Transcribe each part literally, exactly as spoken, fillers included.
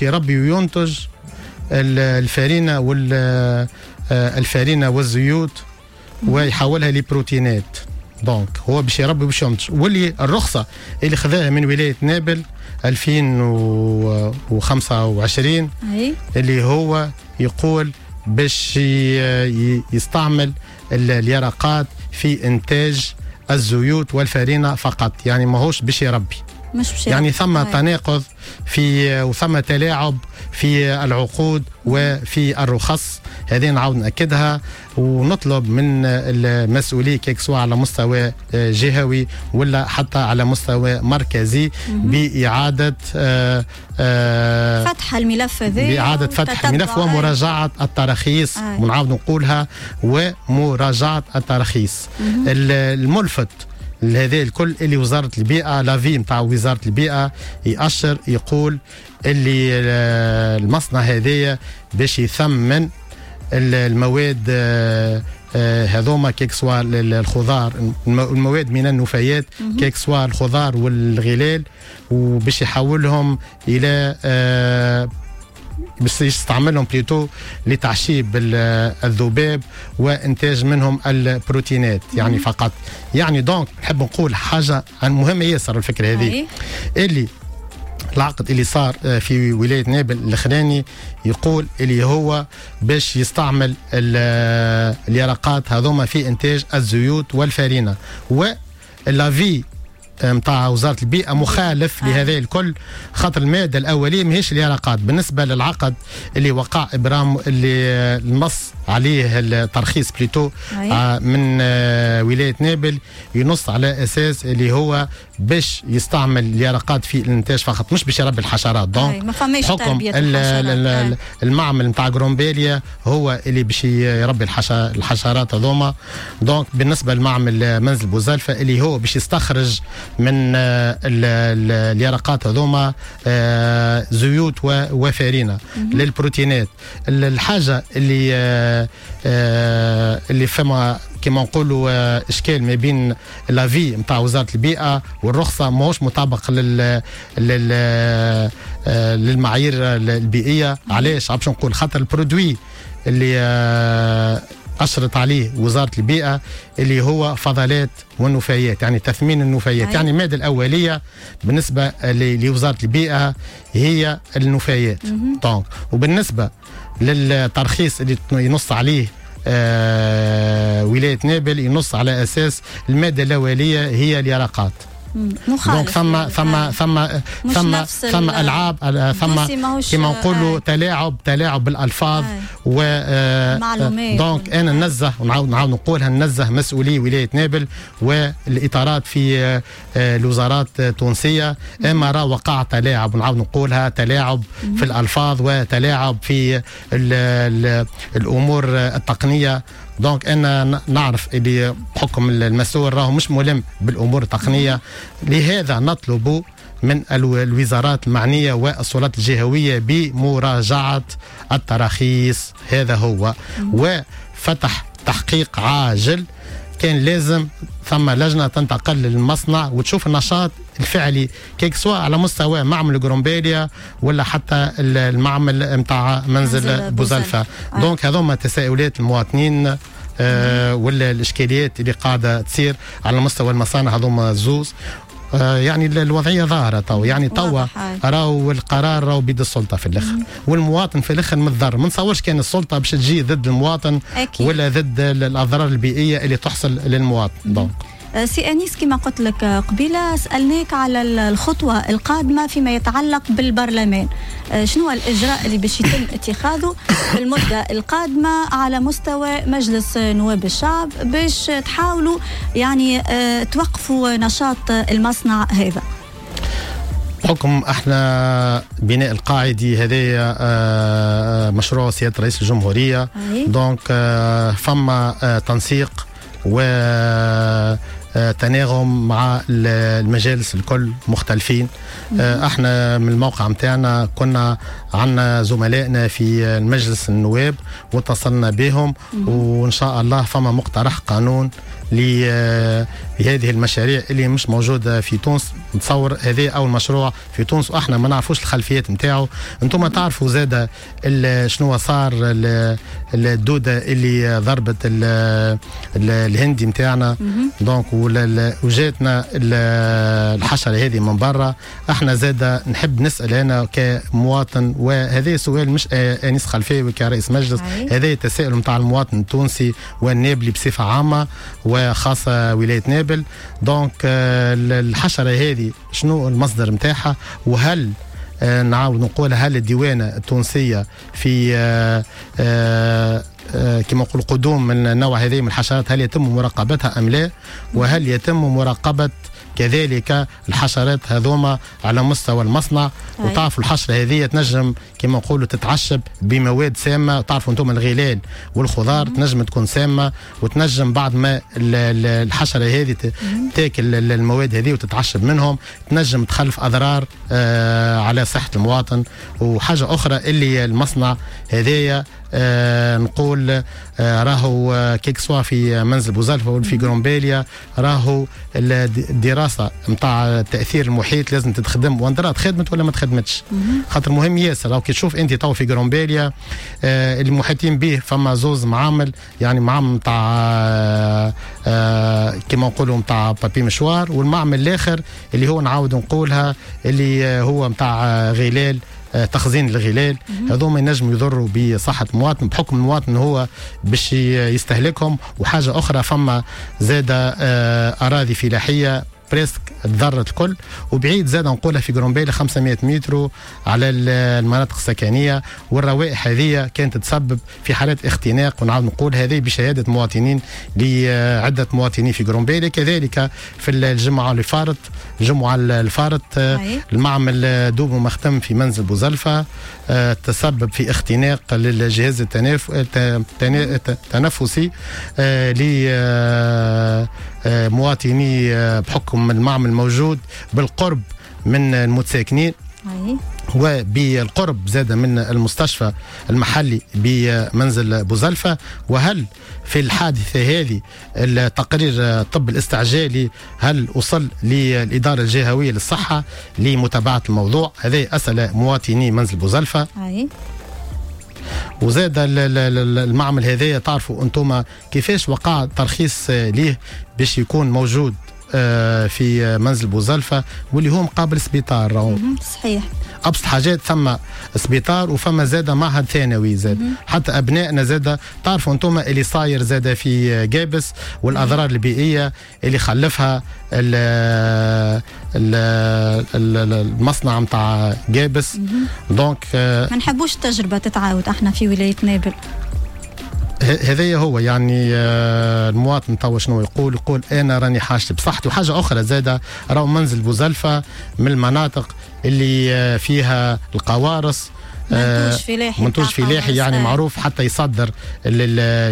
يربي وينتج الفارينة وال الفارينة والزيوت ويحولها لبروتينات. donc هو باش يربي باش ينتج، واللي الرخصة اللي خذاها من ولاية نابل ألفين وخمسة وعشرين اللي هو يقول باش يستعمل اليرقات في انتاج الزيوت والفارينة فقط، يعني ماهوش باش يربي. مش باش يعني ثم تناقض في وثم تلاعب في العقود وفي الرخص، هذه نعاود نأكدها ونطلب من المسؤولين que ce soit على مستوى جهوي ولا حتى على مستوى مركزي بإعادة آه آه فتح الملف هذا، بإعادة فتح الملف ومراجعة التراخيص، ونعاود نقولها ومراجعة التراخيص. الملفت لهذا الكل اللي وزارة البيئة l'avis نتاع وزارة البيئة يأشر يقول اللي المصنع هذايا باش يثمن المواد هذوما que ce soit الخضار، المواد من النفايات que ce soit الخضار والغلال، وباش يحولهم الى باش يستعملهم plutôt لتعشيب الذباب وانتاج منهم البروتينات يعني فقط. يعني donc نحب نقول حاجة مهمة ياسر الفكرة هذه، اللي العقد اللي صار في ولاية نابل الاخراني يقول اللي هو باش يستعمل اليرقات هذوما في انتاج الزيوت والفارينه، و l'avis نتاع وزارة البيئة مخالف آه. لهذا الكل، خاطر المادة الاولية ماهيش اليرقات. بالنسبة للعقد اللي وقع ابرام اللي النص عليه الترخيص plutôt آه من آه ولاية نابل، ينص على اساس اللي هو باش يستعمل اليرقات في الانتاج فقط، مش باش يربي الحشرات. donc ما فماش حكم تربيه المعمل نتاع قرمبالية هو اللي باش يربي الحشرات هذوما. donc بالنسبة لمعمل منزل بوزلفه اللي هو باش يستخرج من اليرقات هذوما زيوت وفارينه للبروتينات. الحاجة اللي اللي فما كما نقولوا اشكال ما بين l'avis نتاع وزارة البيئة والرخصه ماهوش مطابق لل لل للمعايير البيئية. علاش؟ باش نقول خاطر ال produit اللي أشرت عليه وزارة البيئة اللي هو فضلات والنفايات، يعني تثمين النفايات. أي. يعني المادة الأولية بالنسبة لوزارة البيئة هي النفايات. donc وبالنسبة للترخيص اللي ينص عليه آه ولاية نابل ينص على أساس المادة الأولية هي اليرقات. مخالف. donc ثم ثم ثم ثم ثم العاب، ثم كما نقولوا تلاعب تلاعب بالالفاظ و donc انا ننزه ونعاود نعاود نقولها، ننزه مسؤولي ولاية نابل والاطارات في الوزارات التونسية، اما راه وقع تلاعب، ونعاود نقولها تلاعب في الالفاظ وتلاعب في ال ال الامور التقنية. donc انا نعرف اللي بحكم المسؤول راهو مش ملم بالامور التقنية، لهذا نطلب من الوزارات المعنية والسلطات الجهوية بمراجعه التراخيص. هذا هو، وفتح تحقيق عاجل. كان لازم ثم لجنة تنتقل للمصنع وتشوف النشاط الفعلي que ce soit على مستوى معمل قرمبالية ولا حتى المعمل نتاع منزل بوزلفه. donc هذوما تساؤلات المواطنين آه ولا الاشكاليات اللي قاعدة تصير على مستوى المصانع هذوما الزوز. آه يعني الوضعية ظاهره تو، يعني توا راهو القرار راهو بيد السلطة في الاخر، والمواطن في الاخر متضرر. ما نتصورش كان السلطة باش تجي ضد المواطن أكيد. ولا ضد الاضرار البيئية اللي تحصل للمواطن. donc سي أنيس كما قلت لك قبيلة سألناك على الخطوة القادمة فيما يتعلق بالبرلمان، شنو الإجراء اللي باش يتم اتخاذه في المدة القادمة على مستوى مجلس نواب الشعب باش تحاولوا يعني توقفوا نشاط المصنع هذا؟ بحكم احنا بناء القاعدي هذايا مشروع سيادة رئيس الجمهورية، donc فما تنسيق و تناغم مع المجالس الكل مختلفين. احنا من الموقع متاعنا كنا عندنا زملائنا في المجلس النواب واتصلنا بهم، وان شاء الله فما مقترح قانون لهذه المشاريع اللي مش موجودة في تونس. نتصور هذا اول مشروع في تونس واحنا ما نعرفوش الخلفيات نتاعو. انتم تعرفوا زاده شنو صار الدودة اللي ضربت الهندي نتاعنا، donc وجاتنا الحشرة هذه من برا. احنا زاده نحب نسال انا كمواطن، وهذا سؤال مش انيس خلفاوي كرئيس مجلس، هذا تساؤل نتاع المواطن التونسي والنابلي بصفة عامة وخاصة ولاية نابل. donc الحشرة هذه شنو المصدر نتاعها، وهل نعاود نقول هل الديوانه التونسية في كما نقول قدوم من النوع هذه من الحشرات هل يتم مراقبتها ام لا، وهل يتم مراقبة كذلك الحشرات هذوما على مستوى المصنع. وتعرفوا الحشرة هذه تنجم كما نقولوا تتعشب بمواد سامة، تعرفوا انتم الغلال والخضار تنجم تكون سامة، وتنجم بعد ما الحشرة هذه تاكل المواد هذه وتتعشب منهم تنجم تخلف اضرار على صحة المواطن. وحاجه اخرى اللي المصنع هذايا آه نقول آه راهو que ce soit في منزل بوزلفة ولا في قرمبالية، راهو الدراسة نتاع تاثير المحيط لازم تتخدم، وندرا تخدمت ولا ما تخدمتش، خاطر مهم ياسر. راهو كي تشوف انت تو في قرمبالية آه المحيطين به فما زوز معامل، يعني معمل نتاع آه كيما نقولوا نتاع papier mouchoir، والمعمل الاخر اللي هو نعاود نقولها اللي هو نتاع غلال، تخزين الغلال. هذوما ينجموا يضروا بصحة المواطن بحكم المواطن هو باش يستهلكهم. وحاجة أخرى فما زادة أراضي فلاحية presque تضرت الكل، وبعيد زاد نقولها في قرمبالية خمسمائة متر على المناطق السكنية، والروائح هذه كانت تسبب في حالات اختناق، ونعاود نقول هذه بشهادة مواطنين لعدة مواطنين في قرمبالية. كذلك في الجمعة اللي فارت، الجمعة الفارت المعمل دوب ما ختم في منزل بوزلفة تسبب في اختناق للجهاز التنفسي لمواطني بحكم المعمل موجود بالقرب من المتساكنين وبالقرب زاد من المستشفى المحلي بمنزل بوزلفة. وهل في الحادثة هذه التقرير الطب الاستعجالي هل وصل للإدارة الجهوية للصحة لمتابعة الموضوع؟ هذه أسئلة مواطني منزل بوزلفة. وزاد المعمل هذايا تعرفوا انتم كيفاش وقع ترخيص ليه باش يكون موجود في منزل بوزلفة واللي هو مقابل سبيطار. صحيح، ابسط حاجات ثم سبيطار وفما زاد معهد ثانوي زاد، حتى ابنائنا زاد تعرفوا انتم اللي صاير زاد في جابس والاضرار البيئية اللي خلفها المصنع نتاع جابس. donc ما نحبوش التجربة تتعاود احنا في ولاية نابل. هذايا هو يعني المواطن توا شنو يقول؟ يقول انا راني حاجتي بصحتي. وحاجه اخرى زاده راهو منزل بوزلفة من المناطق اللي فيها القوارص، منتوج فلاحي، منتوج فلاحي يعني معروف حتى يصدر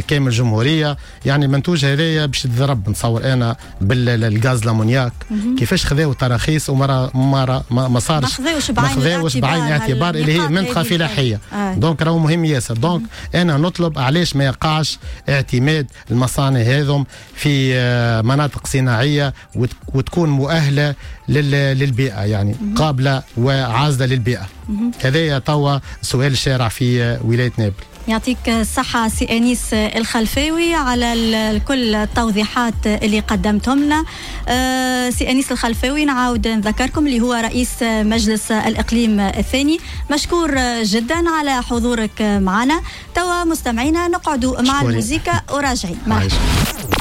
كامل الجمهورية. يعني المنتوج هذايا باش يتضرب نتصور انا بالغاز l'ammoniac. كيفاش خذاو تراخيص وما ما ما صارش، ما خذاوش بعين الاعتبار اللي هي منطقة فلاحية. آه. donc راهو مهم ياسر. donc انا نطلب علاش ما يقعش اعتماد المصانع هذم في مناطق صناعية وتكون مؤهلة للبيئة، يعني قابله وعازله للبيئة. هذايا توا سؤال الشارع في ولاية نابل. يعطيك الصحة سي أنيس الخلفاوي على كل التوضيحات اللي قدمتهم لنا. سي أنيس الخلفاوي نعاود نذكركم اللي هو رئيس مجلس الإقليم الثاني، مشكور جدا على حضورك معنا. توا مستمعينا نقعدوا مع الموسيقى وراجعين. مرحبا.